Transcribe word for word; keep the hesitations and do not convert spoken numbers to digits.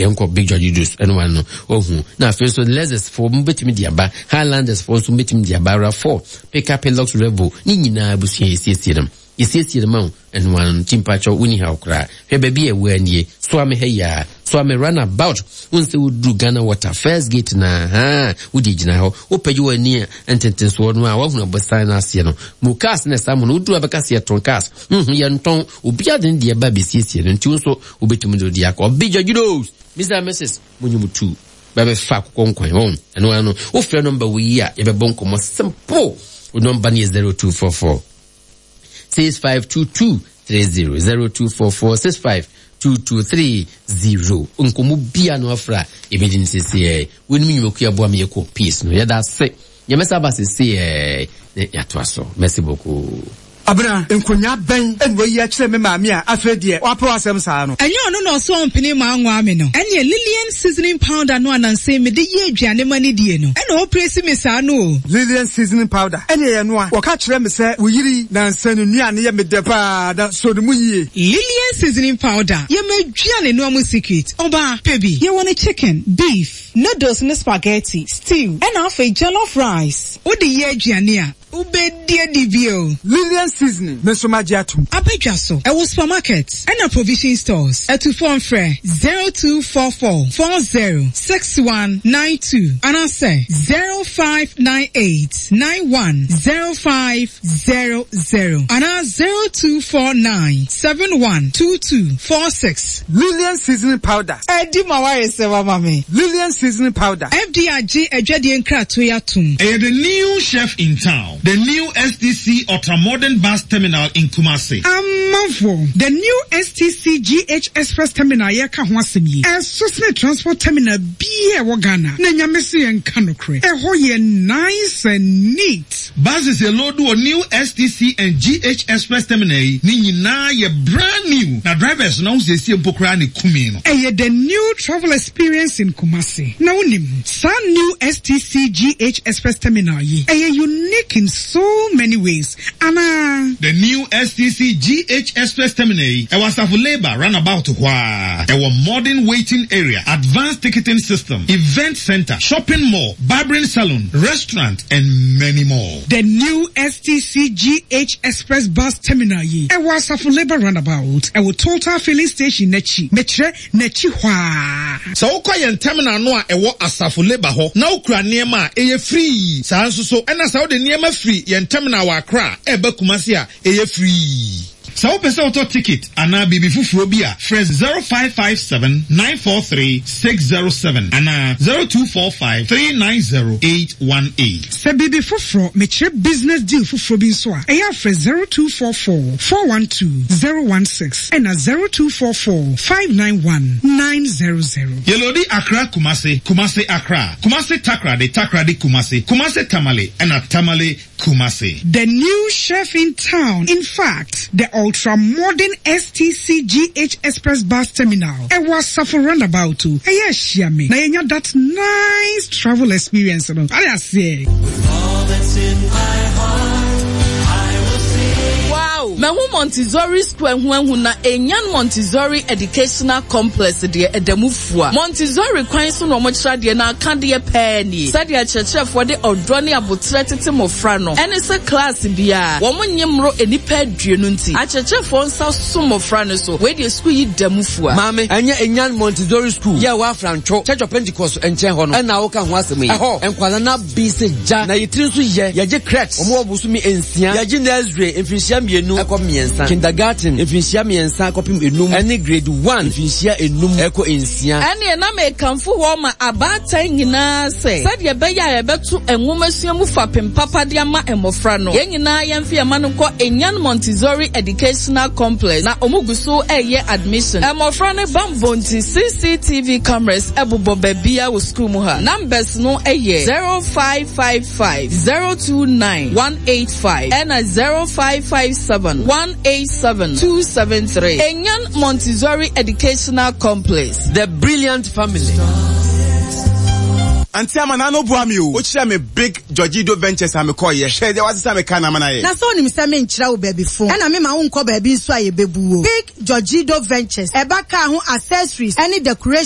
Yɛnkɔ Big George Juice ɛno wa no ohu. Na afei nso Lexus foɔ mo bɛtumi de aba, Highlanders foɔ nso bɛtumi de aba, RAV four, pickup, Hilux, Revo ne nyinaa, abusua, yɛsiesie no, yɛsiesie no ma wo. Ɛno ano no timpakyɛw woni ha koraa. Hwɛ baabi a ɛwɔ anie, Soame ha yi a, Soame roundabout wo nsɛ woduru Ghana Water first gate na ha wode gyina hɔ, wopɛgye w'ani a ntentensoɔ no a woahunu abɔsan no aseɛ no mu cars na ɛsa mu no. Woduru abɛka sɛ yɛtɔn cars, mhm yɛntɔn. Obiara de ne deɛ ba bɛsiesie no, nti wo nso wobɛtumi de wode akɔ. Big Judos, Mister and Missus, monyi mu tu bɛbɛfa akokɔ nkwan wɔn. Ɛno ano wofrɛ number wo yi a, yɛbɛbɔ nkɔmmɔ simple. Wo number no yɛ zero two four four six five two two three zero, zero two four four six five two two three zero. Nkɔmmɔ bia no afra yɛbɛdi no sɛsiɛ. Wonim nnwumakuo aboa me yɛkɔ peace no, yɛda ase. Yɛmɛsa ba sɛsiɛ na yɛatoa so. Merci beaucoup. Abena, nkonyaa bɛn ɛna wayi akyerɛ me maame a afei deɛ wapɛ w'asɛm saa no? Ɛnyɛ ɔno na ɔsɔ ɔmpene ma anwa me no. Ɛneɛ Lillian seasoning powder no ananse mede yɛ aduane ma ne die no, ɛna ɔpresi me saa no o. Lillian seasoning powder ɛne ɛyɛ no a wɔka kyerɛ me sɛ wo yiri nansa no nnuane yɛ me dɛ paa na so ne mu yie. Lillian seasoning powder yɛ ma aduane noa mu secret. Ɔbaa pɛ bi, yɛwɔ ne chicken, beef, noodles ne spaghetti, stew, ɛna afei jollof rice. Wode yɛ aduane a, wobɛdi adi bio. Lillian seasoning, me nso magye atom. Abadwa so, ɛwɔ supermarket ɛna provision stores. Atufoɔ mfrɛ zero two four four four zero six one nine two anaasɛ zero five nine eight nine one zero five zero zero anaa zero two four nine seven one two two four six. Lillian seasoning powder. Ɛdi ma wayɛ sɛ wama me. Lillian seasoning powder. F D I gye adwadeɛ nkratoɔ yi atom. Ɛyɛ the new chef in town, the new S T C Ultramodern Bus Terminal in Kumasi. Amanfoɔ, the new S T C G H Express Terminal yɛka ho asɛm yi, ɛso sene transport terminal biaa ɛwɔ Ghana. Na Nyame so yɛnka nokorɛ, ɛhɔ yɛ nice and neat. Buses yɛ load wɔ new S T C and G H Express Terminal yi ne nyinaa yɛ brand new, na drivers no ahosiesie mpo koraa ne kumi no. Ɛyɛ the new travel experience in Kumasi. Na wonim saa new S T C G H Express Terminal yi, ɛyɛ unique in so many ways anaa? The new S T C G H Express Terminal yi ɛwɔ Asafo Labour roundabout hɔ a, ɛwɔ modern waiting area, advanced ticketing system, event center, shopping mall, barbering salon, restaurant and many more. The new S T C G H Express Bus Terminal yi ɛwɔ Asafo Labour roundabout, ɛwɔ Total filling station n'akyi, mekyerɛ n'akyi hɔ a. Sɛ wokɔ yɛn terminal no a ɛwɔ Asafo Labour hɔ na wokura nneɛma a, ɛyɛ free. Saa nso so ɛna sɛ wode nneɛma firi yɛn terminal wɔ Accra a ɛba Kumasi a, ɛyɛ free. Sɛ wopɛ sɛ wotɔ ticket anaa biribi foforɔ bi a, frɛ zero five five seven nine four three six zero seven anaa zero two four five three nine zero eight one eight. Sɛ biribi foforɔ, mekyerɛ business deal foforɔ bi nso a, ɛyɛ afrɛ zero two four four four one two zero one six ɛna zero two four four five nine one nine zero zero. Yɛ load Accra Kumasi, Kumasi Accra, Kumasi Takoradi, Takoradi Kumasi, Kumasi Tamale ɛna Tamale Kumasi. The new chef in town. In fact, the ultra-modern S T C G H Express Bus Terminal. Ɛwɔ Asafo roundabout o. Ɛyɛ ahyia me. Na yɛnya that nice travel experience no. Ade aseɛ. Wow! Mahu Montessori Square ho ahu na Enyan Montessori Educational Complex deɛ, ɛda mu fua. Montessori kwan so na ɔmokyerɛ adeɛ na aka deɛ pɛɛ nie. Sɛdeɛ akyerɛkyerɛfoɔ de ɔdɔ ne abotrɛ tete mmɔfra no, ɛne sɛ class biara wɔn nye mmoro nnipa aduonu, nti akyerɛkyerɛfoɔ nsa so mmɔfra no so. Wei deɛ, sukuu yi da mu fua. Maame, ɛnyɛ Enyan Montessori School yɛ wɔ Afrantwo Church of Pentecost nkyɛn hɔ no ɛna woka ho asɛm yi? Ɛhɔ nkwala na bi sɛ gya na yɛtiri nso yɛ. Yɛgye crèche, wɔn wɔ bosome nsia. Yɛgye nursery, mfirinhyia mmienu ɛkɔ mmiɛnsa, kindergarten, mfirinhyia mmiɛnsa kɔpem enum, ɛne grade one, mfirinhyia enum ɛkɔ nsia. Ɛneɛ na mekamfo hɔ ma abaatan nyinaa sɛ sɛdeɛ ɛbɛyɛ a yɛbɛto nwomasua mu fapem papa de ama mmɔfra no, yɛn nyinaa yɛmfa yɛn ma no nkɔ Enyan Montessori Educational Complex. Na ɔmo gu so ɛyɛ admission. Mmɔfra no bambɔ nti, C C T V cameras ɛbobɔ baabia wɔ sukuu mu ha. Numbers no ɛyɛ zero five five five zero two nine one eight five ɛna zero five five seven one eight seven two seven three. Enyan Montessori Educational Complex. The brilliant family. Auntie Ama, na no boa me o. Wokyerɛ me Big Georgido Ventures a mekɔɔyɛ. Hwɛ deɛ wasesa me ka na ama no ayɛ. Na sɛ wonim sɛ menkyerɛ wo baabi fo, ɛna mema wonkɔ baabi nso a yɛbɛbu wo. Big Georgido Ventures, ɛba kaa ho accessories ɛne decoration.